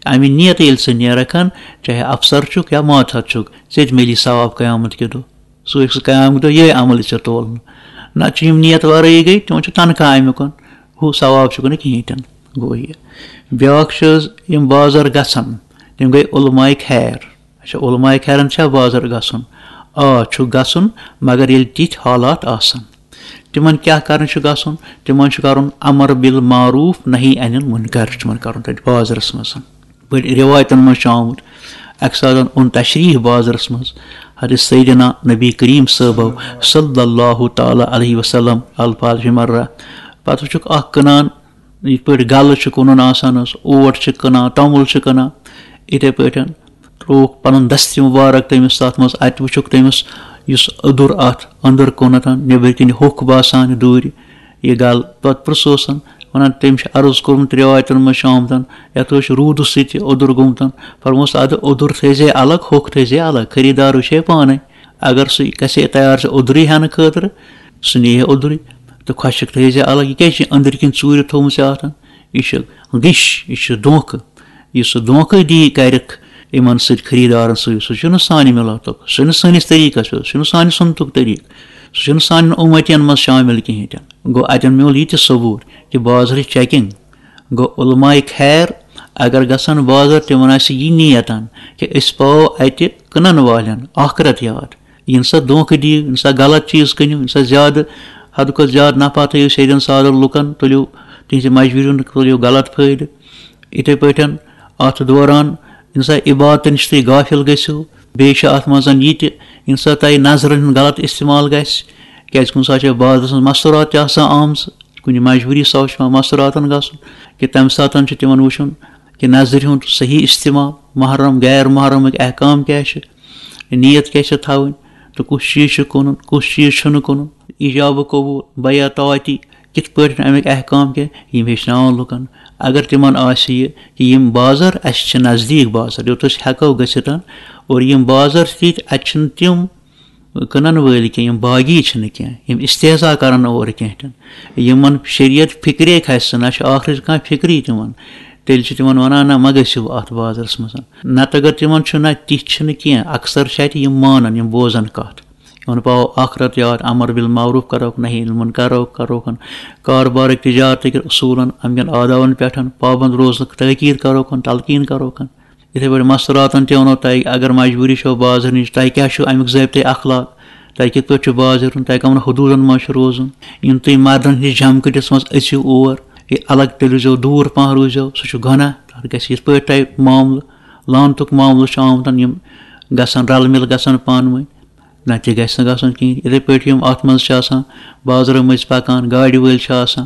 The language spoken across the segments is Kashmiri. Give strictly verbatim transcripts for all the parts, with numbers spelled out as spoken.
اَمہِ نیتہٕ ییٚلہِ ژٕ نیرَکھ ہن، چاہے افسر چھُکھ یا ماتحت چھُکھ، ژےٚ تہِ میلی ثواب قیامت کہِ دۄہ۔ سُہ ہیٚکہِ سُہ قیامت کہِ دۄہ یِہوٚے عمل ژےٚ تولنہٕ۔ نہ چھُ یِم نیت وَرٲیی گٔے، تِمن چھُ تنخواہ اَمیُک، ہُہ ثواب چھُکھ نہٕ کِہیٖنۍ تہِ نہٕ۔ گوٚو یہِ۔ بیٛاکھ چھِ حظ یِم بازر گژھن، تِم گٔے علماء خیر۔ اچھا، علماء خیرن چھا بازر گژھُن؟ آ، چھُ گژھُن، مگر ییٚلہِ تِتھۍ حالات آسن۔ تِمن کیٛاہ کرنہِ چھُ گژھُن؟ تِمن چھُ کرُن امر بالمعروف، نہی عن المنکر چھُ تِمن کرُن تتہِ بازرس منٛز۔ بٔڑۍ رِوایتن منٛز چھُ آمُت، اکہِ ساتہٕ اوٚن تشریٖف بازرس منٛز حضرت سیدنا نبی کریم صٲبو صلی اللہ تعالیٰ علیہ وسلم، الفاظ فی مرہ۔ پتہٕ وٕچھُکھ اکھ کٕنان، یِتھ پٲٹھۍ گلہٕ چھُ کٕنُن آسان حظ، اوٹ چھِ کٕنان، توٚمُل چھِ کٕنان، یِتھے پٲٹھۍ ترٛووُکھ پنُن دستہِ مبارک تٔمِس تتھ منٛز، اتہِ وٕچھُکھ تٔمِس یُس اوٚدُر اتھ أنٛدر کُنتھ، نیٚبرۍ کِنۍ ہوٚکھ باسان دوٗرِ، یہِ گل۔ پتہٕ پرٛژھوسن، ونان، تٔمۍ چھُ عرض کوٚرمُت، رِوایتن منٛز چھُ آمُت، یتھ اوس روٗدٕ سۭتۍ تہِ اوٚدُر گوٚمُت۔ فرموس، ادٕ اوٚدُر تھٲیزے الگ، ہوٚکھ تھٲیزے الگ، خریٖدار وٕچھے پانے۔ اگر سُہ گژھِ تیار ژےٚ اوٚدرُے ہٮ۪نہٕ خٲطرٕ، سُہ نِیہِ اوٚدرُے، تہٕ خۄشِک تھٲیزے الگ۔ یہِ کیٛازِ چھِ أنٛدرۍ کِنۍ ژوٗرِ تھوٚومُت ژےٚ اتھ؟ یہِ چھُ غش، یہِ چھُ دھوکہٕ۔ یُس سُہ دھوکہٕ دی کرکھ یِمن سۭتۍ، خریٖدارن سۭتۍ، سُہ چھُنہٕ سانہِ مِلتُک، سُہ چھُنہٕ سٲنِس طریٖقس پٮ۪ٹھ، سُہ چھُنہٕ سانہِ سُنتُک طریٖقہٕ، سُہ چھُنہٕ سانٮ۪ن اُمتین منٛز شٲمِل کِہیٖنۍ تہِ نہٕ۔ گوٚو، اتٮ۪ن میوٗل یہِ تہِ ثبوٗت کہِ بازرٕچ checking۔ گوٚو، علماء خیر اگر گژھن بازر، تِمن آسہِ یہِ نیتن کہِ أسۍ پاوو اتہِ کٕنن والٮ۪ن آخرت یاد۔ یِنہٕ سا دھوکہٕ دِیِو، یِنہٕ سا غلط چیٖز کٕنِو، یِنہٕ سا زیادٕ، حدٕ کھۄتہٕ زیادٕ نفع تھٲیِو سیدٮ۪ن سادن لُکن، تُلِو تِہنٛزِ مجبوٗری ہُنٛد، تُلِو غلط فٲیدٕ۔ یِتھے پٲٹھۍ اتھ دوران یِنہٕ سا عبادتہٕ نِش تُہۍ غافل گٔژھِو، بیٚیہِ چھُ اتھ منٛز یہِ تہِ، یِنہٕ سا تۄہہِ نظرن ہُنٛد غلط استعمال گژھِ، کیازِ کُنہِ ساتہٕ چھِ بازرس منٛز مستورات تہِ آسان آمژٕ، کُنہِ مجبوٗری سبب چھُ پٮ۪وان مستوراتن گژھُن، کہِ تمہِ ساتہٕ چھُ تِمن وٕچھُن کہِ نظرِ ہُنٛد صحیح استعمال، محرم غیر محرمٕکۍ احکام کیٛاہ چھِ، نیت کیٛاہ چھِ تھاوٕنۍ، تہٕ کُس چیٖز چھُ کٕنُن، کُس چیٖز چھُنہٕ کٕنُن، ایجاب قبول، بیع طاعتی، کِتھ پٲٹھۍ اَمِکۍ احکام کیٛاہ، یِم ہیٚچھناوَن لُکَن۔ اگر تِمَن آسہِ یہِ کہِ یِم بازر اَسہِ چھِ نزدیٖک بازر، یوٚت أسۍ ہٮ۪کو گٔژھِتھ، اور یِم بازر چھِ تِتھۍ، اَتہِ چھِنہٕ تِم کٕنَن وٲلۍ کینٛہہ، یِم باغی چھِنہٕ کینٛہہ، یِم استحضا کَرَن نہٕ اورٕ کینٛہہ تہِ نہٕ۔ یِمَن شریعت فِکرے کھَسہِ نہٕ، نہ چھِ ٲخرٕچ کانٛہہ فِکرٕے تِمَن۔ تیٚلہِ چھِ تِمَن وَنان، نہ، مہ گٔژھِو اَتھ بازرَس منٛز۔ نَتہٕ اگر تِمَن چھُ، نہ، تِتھۍ چھِنہٕ کینٛہہ، اکثر چھِ اَتہِ یِم مانان، یِم بوزَن کَتھ۔ یِمَن پاوو آخرت یاد، امر بالمعروف کرو، نہی عن المنکر کرو، کروکھن۔ کاربارٕکۍ تجارتٕکۍ اصوٗلن، امکٮ۪ن آدابن پٮ۪ٹھ پابند روزنُک تاکید کروکھن، تلقین کروکھن۔ یِتھے پٲٹھۍ مستوراتن تہِ ونو تۄہہِ، اگر مجبوٗری چھو بازر نِش، تۄہہِ کیٛاہ چھُ امیُک ضٲبطے اخلاق، تۄہہِ کِتھ پٲٹھۍ چھُ بازر یُن، تۄہہِ کمن حدوٗدن منٛز چھُ روزُن۔ یِم تُہۍ مردن ہٕنٛدِس جمکٹِس منٛز أژِو اور، یہِ الگ تیٚلہِ روزیو، دوٗر پہن روزیو، سُہ چھُ گۄناہ، تتھ گژھِ یِتھ پٲٹھۍ تۄہہِ معاملہٕ، لعنتُک معاملہٕ چھُ آمُت، یِم گژھن رلہٕ مِل گژھن پانہٕ ؤنۍ۔ نہ تہِ گژھِ نہٕ گژھُن کِہیٖنۍ۔ یِتھَے پٲٹھۍ یِم اَتھ منٛز چھِ آسان بازرٕ مٔنٛزۍ پَکان، گاڑِ وٲلۍ چھِ آسان،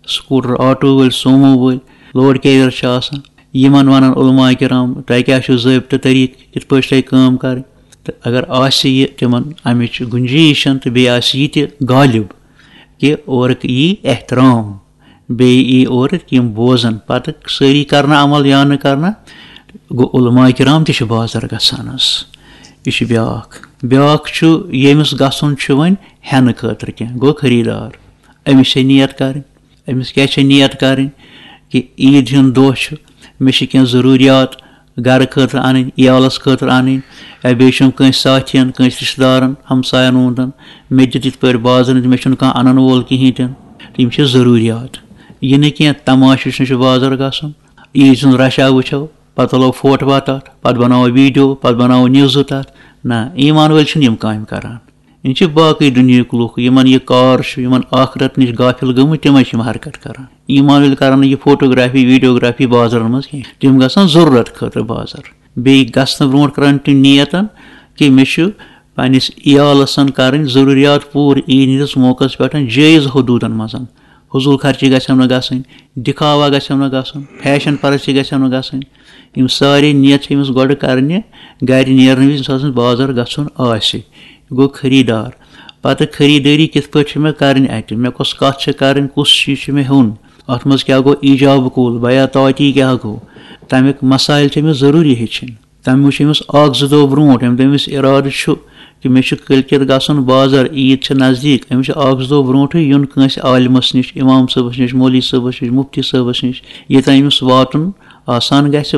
سکوٗٹر، آٹوٗ وٲلۍ، سومو وٲلۍ، لوڈ کیریَر چھِ آسان، یِمَن وَنان علماء کرام، تۄہہِ کیٛاہ چھُو ضٲبطہٕ طریٖقہٕ، کِتھ پٲٹھۍ چھِ تۄہہِ کٲم کَرٕنۍ؟ تہٕ اگر آسہِ یہِ تِمَن اَمِچ گُنجٲیِش تہٕ بیٚیہِ آسہِ یہِ تہِ غالب کہِ اورُک یی احترام، بیٚیہِ یی اورٕ یِم بوزَن، پَتہٕ سٲری کَرنہٕ عمل یا نہٕ کَرنہٕ، گوٚو علماء کرام تہِ چھِ بازر گژھان حظ۔ یہِ چھُ بیٛاکھ۔ بیٛاکھ چھُ، ییٚمِس گژھُن چھُ وۄنۍ ہٮ۪نہٕ خٲطرٕ کینٛہہ، گوٚو خریٖدار۔ أمِس چھےٚ نیت کَرٕنۍ۔ أمِس کیٛاہ چھےٚ نیت کَرٕنۍ؟ کہِ عیٖد ہُنٛد دۄہ چھُ، مےٚ چھِ کینٛہہ ضروٗریات گَرٕ خٲطرٕ اَنٕنۍ، عیالَس خٲطرٕ اَنٕنۍ، یا بیٚیہِ چھُم کٲنٛسہِ ساتھیَن، کٲنٛسہِ رِشتہٕ دارَن، ہمسایَن ووٚن تَن، مےٚ دِ تِتھ پٲٹھۍ بازرٕ، مےٚ چھُنہٕ کانٛہہ اَنَن وول کِہیٖنۍ تہِ نہٕ۔ تِم چھِ ضروٗریات۔ یہِ نہٕ کینٛہہ تماشہٕ وٕچھنہِ چھُ بازر گژھُن، عیٖد سُنٛد رش آ وٕچھو، پتہٕ تُلو فوٹوا تتھ، پتہٕ بناوو ویڈیو، پتہٕ بناوو نیوزٕ تتھ۔ نہ، ایمان وٲلۍ چھِنہٕ یِم کامہِ کران۔ یِم چھِ باقٕے دُنیہٕکۍ لُکھ، یِمن یہِ کار چھُ، یِمن آخرت نِش غافل گٔمٕتۍ، تِمے چھِ یِم حرکت کران۔ ایمان وٲلۍ کرن نہٕ یہِ فوٹوگرافی، ویڈیوگرافی بازرن منٛز کینٛہہ۔ تِم گژھن ضروٗرت خٲطرٕ بازر۔ بیٚیہِ گژھنہٕ برونٛٹھ کرن تِم نیتن کہِ مےٚ چھُ پننِس عیالس کرٕنۍ ضروٗریات پوٗرٕ عیٖد ہٕنٛدِس موقعس پٮ۪ٹھ جٲیز حدوٗدن منٛز۔ فضوٗل خرچی گژھٮ۪م نہٕ گژھٕنۍ، دِکھاوا گژھٮ۪م نہٕ گژھُن، فیشن پرستی گژھٮ۪م نہٕ گژھٕنۍ۔ یِم سارے نیت چھِ أمِس گۄڈٕ کرنہِ، گرِ نیرنہٕ وِزِ ییٚمہِ ساتہٕ أمِس بازر گژھُن آسہِ۔ یہِ گوٚو خریٖدار۔ پتہٕ خریٖدٲری کِتھ پٲٹھۍ چھِ مےٚ کرٕنۍ اتہِ؟ مےٚ کۄس کتھ چھِ کرٕنۍ، کُس چیٖز چھُ مےٚ ہیوٚن؟ اتھ منٛز کیٛاہ گوٚو ایجاب قبول، بیع طاعتی کیٛاہ گوٚو؟ تمیُک مسائل چھِ أمِس ضروٗری ہیٚچھِنۍ۔ تَمہِ وٕچھ أمِس اَکھ زٕ دۄہ برونٛٹھ، ییٚمہِ دۄہ أمِس اِرادٕ چھُ کہِ مےٚ چھُ کٲلۍ کٮ۪تھ گژھُن بازر، عیٖد چھِ نزدیٖک، أمِس چھُ اَکھ زٕ دۄہ برونٛٹھٕے یُن کٲنٛسہِ عالمَس نِش، اِمام صٲبَس نِش، مولوی صٲبَس نِش، مُفتی صٲبَس نِش، ییٚتٮ۪ن أمِس واتُن آسان گژھِ